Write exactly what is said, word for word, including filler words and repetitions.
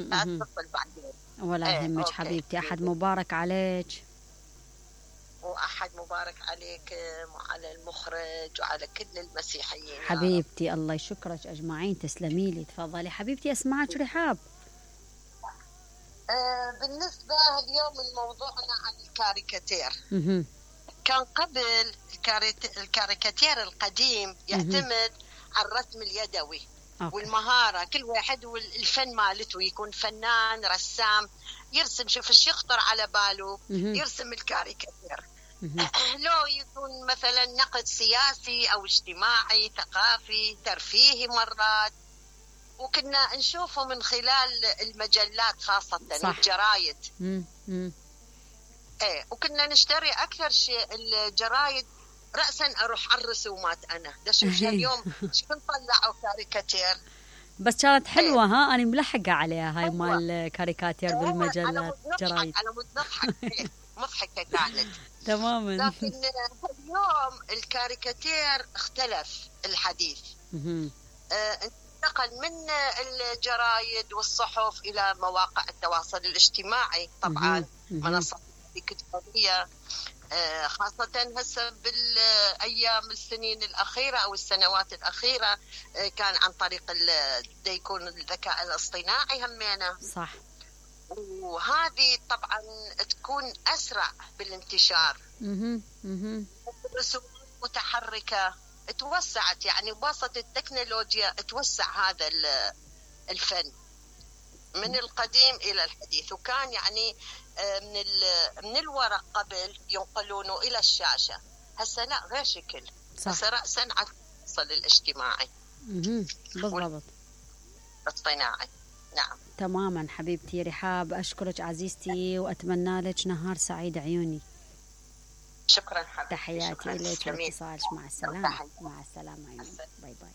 مهم. اتصل بعدين. ولا ايه يهمك اوكي. حبيبتي، أحد مبارك عليك. واحد مبارك عليكم وعلى المخرج وعلى كل المسيحيين يا رب. حبيبتي الله يشكرك أجمعين، تسلمي لي. تفضلي حبيبتي أسمعك رحاب. آه بالنسبة اليوم الموضوعنا عن الكاريكاتير. مهم. كان قبل الكاريت- الكاريكاتير القديم يعتمد على الرسم اليدوي أوكي. والمهارة، كل واحد والفن مالته، يكون فنان رسام يرسم، شوف ايش يخطر على باله مهم. يرسم الكاريكاتير. مهم. لو يكون مثلا نقد سياسي أو اجتماعي ثقافي ترفيهي مرات، وكنا نشوفه من خلال المجلات خاصة صح. والجرايد. مم. مم. ايه وكنا نشتري أكثر شيء الجرايد رأسا أروح على الرسومات. أنا دا شوف اليوم شكون طلعوا كاريكاتير. بس كانت حلوة. ها أنا ملحقة عليها هاي حلوة. مال الكاريكاتير هو بالمجلات أنا مضحك جرايد. أنا مضحك إيه، مضحكة كانت. تماما. لكن اليوم الكاريكاتير اختلف الحديث. مهم. آه، انتقل من الجرايد والصحف إلى مواقع التواصل الاجتماعي طبعا. مهم. منصات الكترونية آه، خاصة هسه بالأيام السنين الأخيرة أو السنوات الأخيرة آه، كان عن طريق ال- دا يكون الذكاء الاصطناعي همينة، صح. وهذه طبعا تكون أسرع بالانتشار. مهم. مهم. رسومات متحركة توسعت، يعني بواسطة التكنولوجيا توسع هذا ال- الفن من القديم إلى الحديث. وكان يعني آه، من ال- من الورق قبل ينقلونه إلى الشاشة، هسه لا غير شكل. صح. هسه رأسا على التواصل الاجتماعي مهم. بالضبط. والاصطناعي. نعم تماما حبيبتي رحاب، أشكرك عزيزتي وأتمنى لك نهار سعيد عيوني. شكرا حبيبتي. تحياتي شكراً. إليك جميل. واتصالك. مع السلامة. تحياتي. مع السلامة عيوني. باي باي.